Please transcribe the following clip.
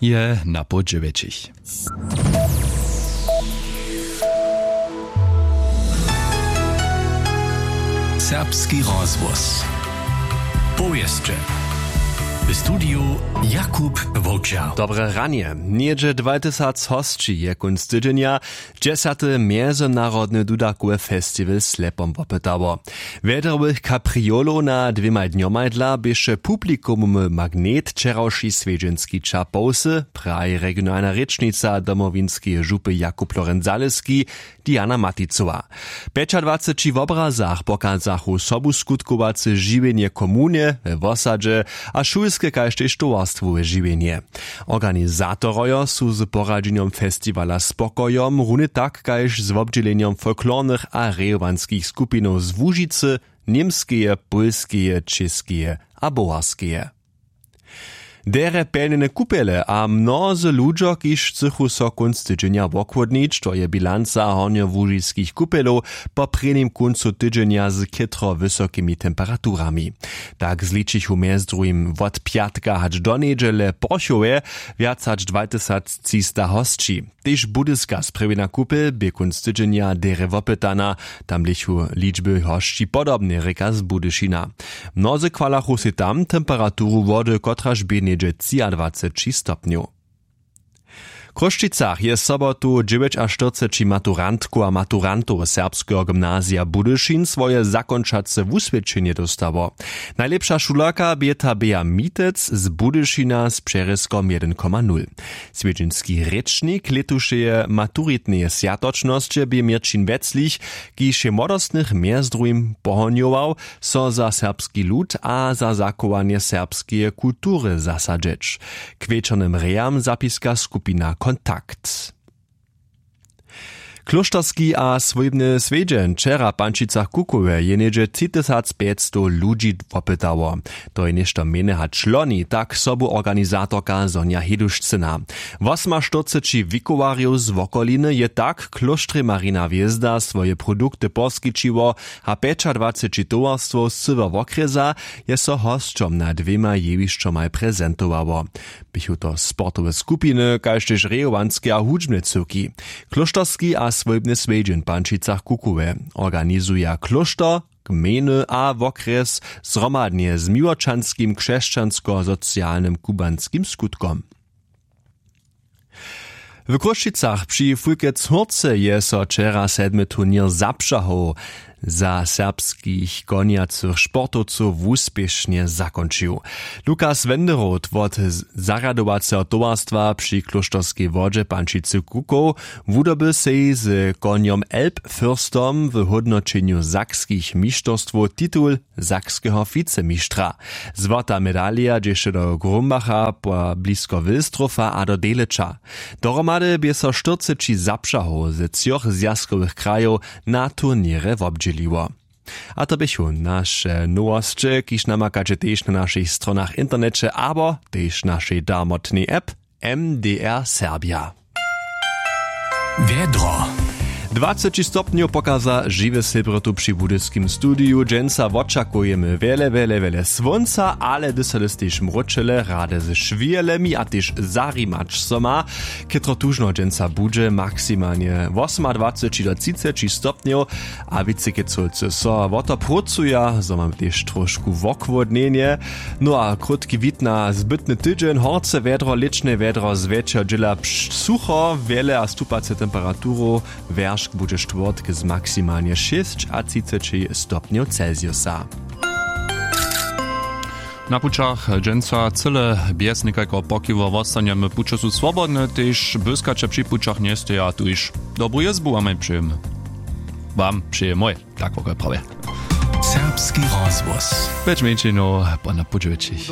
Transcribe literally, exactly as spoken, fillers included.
je na poł dźewjećich. Serbski rozhłos. Powěsće. W studiju Jakub Wowčer. Dobre ranje. Něhdźe dwajtysac hosći je kónc tydźenja dźesjaty mjezynarodny dudakowy festiwal slepom wopytało. Wjedrowych kapriolow na dwěmaj dnjomaj dla běše publikumowy magnet wčerawši swjedźenski ćah połsy, praji regionalna rěčnica domowinskeje župy Jakub Lorenc Zaleski, Diana Maticowa. W pjećadwaceći wobrazach pokazachu sobuskutkowace žiwjenje w komunje, we wosadźe a šulske kaž tež towarstwowe žiwjenje. Organizatorojo su z poradźenjom festiwala spokojom runje tak kaž z wobdźělenjom folklornych a rejowanskich skupinow z Łužicy, Němskeje, Pólskeje, Čěskeje a Bowarskeje. Derje pjelnjene kupjele a mnozy ludźo kiž chcychu so kónc tydźenja wochłódnić, to je bilanca hornjołužiskich kupjelow po prěnim kóncu tydźenja z chětro wysokimi temperaturami. Tak zličichu mjez druhim wot pjatka hač do njedźele w porchowje wjac hač dwatysactřista hosći. Tež budyska sprjewjena kupel bě kónc tydźenja derje wopytana. Tam běchu ličby hosći podobne rěka z budyšina. Mnozy chwalachu sej tam temperaturu wody kotraž bě něhdźe třiadwaceći stopnjow. W chrósćicach je sobotu dźewjećaštyrceći maturantkow a maturantow serbskeho gymnazija budyšin swoje zakónčace wuswědčenje dóstało. Najlěpša šulerka bě ta běa mitec z budyšina z přerězkom jedyn koma nul. Swjedźenski rěčnik lětušeje maturitneje swjatočnosće bě měrćin wjeclich, kiž je młodostnych mjez druhim pohonjował, so za serbski lud a za zachowanje serbskeje kultury zasadźeć. K wječornym rejam zapiska skupina kontakt. Klóšterski a swójbny swjedźeń wčera w pančicach kukowe je něhdźe třitysacpjećstow ludźi wopytało. To je něšto mjene hač loni, tak sobuorganizatorka Sonja Hedušcyna. Wosomaštyrceći wikowarjow z wokoliny je tak w klóštrje Marina hwězda swoje produkty poskićiło, a pjećadwaceći towarstwow z cyłeho wokrjesa je so hosćom na dwěmaj jewišćomaj prezentowało. Běchu to sportowe skupiny kaž tež rejowanske a hudźbne cyłki. Klóšterski a swójbny swjedźeń w pančicach kukowe organizuja klóšter, gmejny a wokrjes zhromadnje z miłočanskim křesćansko-socialnym kubanskim skutkom. W chrósćicach při fulkec hórce je so wčera sedmy turněr zapřahow za serbskich konjacych sportowcow wuspěšnje zakónčił. Lukas Wenderoth wot zarjadowaceho towarstwa při klóšterskej wodźe pančicy kukow wudoby sej z konjom elbfürstom w hódnoćenju sakskich mišterstwow titul sakskeho wicemištra. Złota medalija dźěše do Grumbacha, po blisko wilstrofa a do deleća. Dohromady bě so štyrceći zapřahow ze třoch zwjazkowych krajow na turněrje wobdźěliło. A to běchu naše nowosće, kiž namakaće tež na našich stronach w interneće abo tež našej darmotnej app M D R Serbia. Wjedro. Dwaceći stopnjow pokaza žiwe sebrotu při budyskim studiju. Dźensa wočakujemy wjele wjele wjele słónca, ale hdyž so hdyž tež mróčele rady ze šwělemi a tež zarimać so ma. Chětro tužno dźensa budźe maksimalnje wosomadwaceći do třiceći stopnjow. A wěcy kecowcy so wo to prócuja, zo mamy tež trošku wochłódnjenje. No a krótki wid na zbytny tydźeń: horce wjedro, lěćne wjedro, zwjetšeho dźěla sucho, wjele a stupace temperaturu. Wjeršk budźe štwórtk z maksimalnje šěsćatřiceći stopnjow celsiusa. Na pućach dźensa cyle bjez někajkeho pokiwu wostanjemy. Puće su swobodne, tež błyskaće při pućach njesteja. Tuž dobru jězbu wamaj přejemy. Wam přeje mój, tak wokaj prawje. Serbski rozhłos. Pjeć mjeńšinow po na pół dźewjećich.